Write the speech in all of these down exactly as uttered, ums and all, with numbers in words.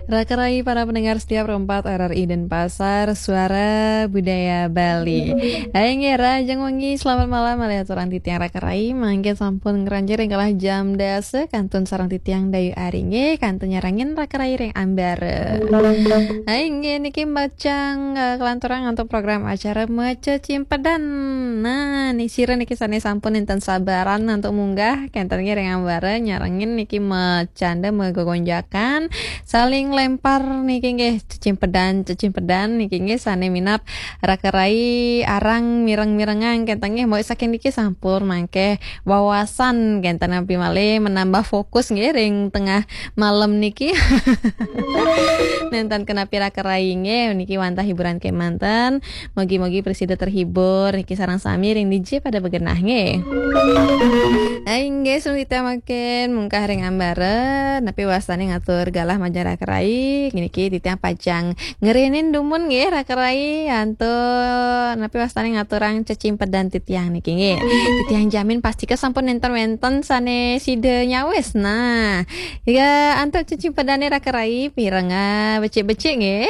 Raka rai para pendengar setia Pro empat R R I Denpasar, Suara Budaya Bali. Hai nggih, rahajeng wengi, selamat malam malih aturang titiang raka rai. Mangke sampun ngranjing ring galah jam dasa kantun sareng titiang Dayu Ari nggih, kantun nyarengin raka rai ring ambara. Hai nggih, niki pacang, eh, kalanturang antuk program acara Macecimpedan. Nah, nika sira niki sane sampun nenten sabaran antuk munggah kenten nggih ring ambara nyarengin niki macanda magegonjakan, saling lempar niki nggih, cecimpedan, cecimpedan niki nggih sane minab raka rai arang mireng-mirengang kenten nggih, mawit saking niki sampun mangke wawasan kenten napi malih menambah fokus nggih ring tengah malam niki. Nenten kenapi raka rai nggih, niki wantah hiburan kemanten. Mugi-mugi prasida terhibur niki sareng sami ring dija pada begenah nggih. Hai nggih, sebelum kita makin mungkah ring ambara, napi wastane ngatur galah majeng raka rai, niki titiang pacang ngerenin dumun nggih raka rai, antuk napi wastane ngaturang cecimpedan titiang niki nggih. Titiang jamin pastika sampun nenten wenten sane sida nyawis. Nah, ya antuk cecimpedane raka rai, pireng, ah, becik-becik nggih.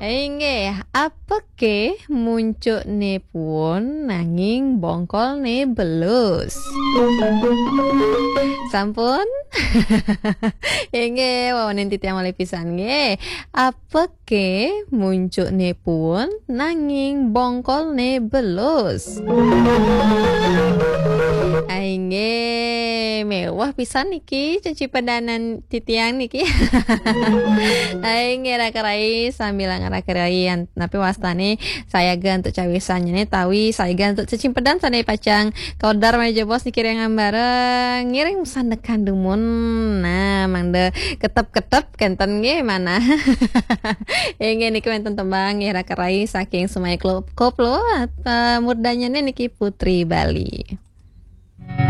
Inggih, apake muncukne puun nanging bongkolne belus. Sampun? Inggih, wawanin titiang malih pisan nggih. Apake muncukne puun nanging bongkolne belus. Inggih, mewah pisan niki cecipedanan titiang niki. Inggih, raka rai sambil ngaraka rai an-, napi wastane sayaga antuk cawisan nyene tawi sayaga antuk cecimpedan sane pacang kaudar malih jebos niki ring ambara ngiring sandekan dumun. Nah, mangda ketep-ketep kenten nggih manah. Inggih niki wenten tembang nggih raka rai saking Semaya Klo-, Koplo, eh, murdanyane niki Putri Bali.